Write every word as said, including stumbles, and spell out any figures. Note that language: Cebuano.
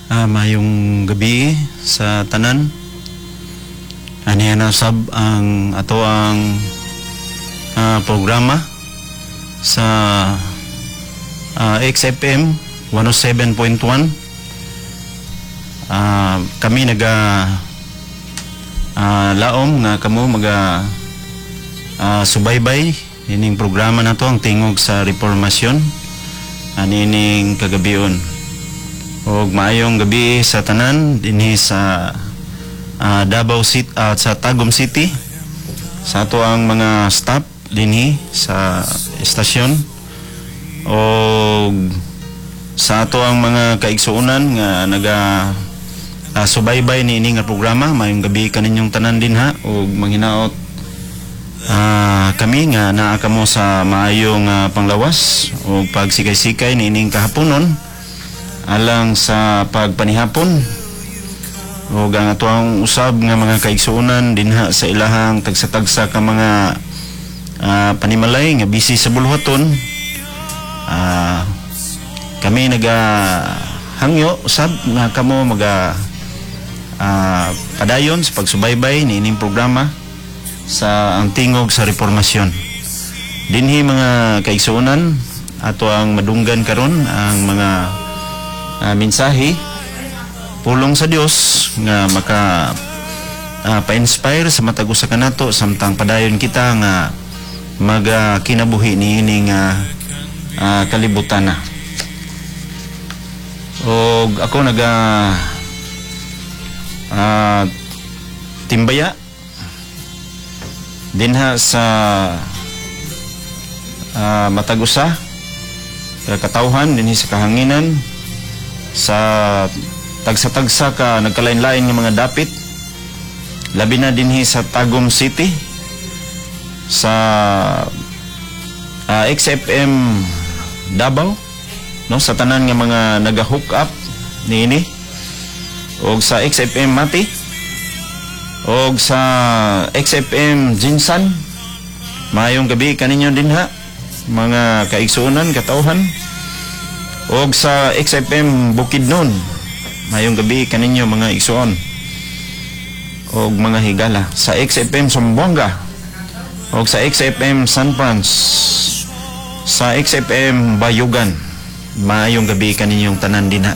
Ah, maayong gabi sa tanan. Aniya na sab ang ato ang ah, programa sa ah, X F M one oh seven point one. Ah, kami naga ah, laom nga kamo maga ah, subaybay ining programa na to, ang Tingog sa Reformasyon, anining kagabion. Og maayong gabi sa tanan dinhi sa ah, Davao City at sa Tagum City, sa ato ang mga staff dinhi sa estasyon og sa ato ang mga kaigsuonan nga naga ah, subaybay niini nga programa. Maayong gabi kaninyong tanan dinha ug manghinaot ah, kami nga naa kamo sa maayong ah, panglawas ug pagsikay-sikay niining kahaponon alang sa pagpanihapon, ug ang atoang usab nga mga kaigsuonan dinha sa ilahang tagsa-tagsa ka mga ah, panimalay nga busy sa buluhaton, ah, kami naga hangyo usab nga kamo maga ah, padayon sa pagsubaybay niining programa sa ang Tingog sa Reformasyon. Dinhi, mga kaigsuonan, ato ang madunggan karon ang mga ah, mensahe, pulong sa Dios nga maka ah, pa-inspire sa matag usa kanato samtang padayon kita nga maga kinabuhi niining uh, ah, kalibutan na. Og ako naga ah, timbaya dinha sa ah, matag usa ka katawhan dinhi sa kahanginan sa tagsa-tagsa ka nagkalain-lain nga mga dapit, labi na dinhi sa Tagum City, sa ah, X F M Davao, no, sa tanan nga mga naga-hook up niini, og sa X F M Mati og sa X F M Gensan. Maayong gabi kaninyo dinha, mga kaigsuonan, katawhan, og sa X F M Bukidnon. Maayong gabi kaninyo, mga igsuon og mga higala, sa X F M Zamboanga og sa X F M San Franz, sa X F M Bayugan. Maayong gabi kaninyong tanan dinha.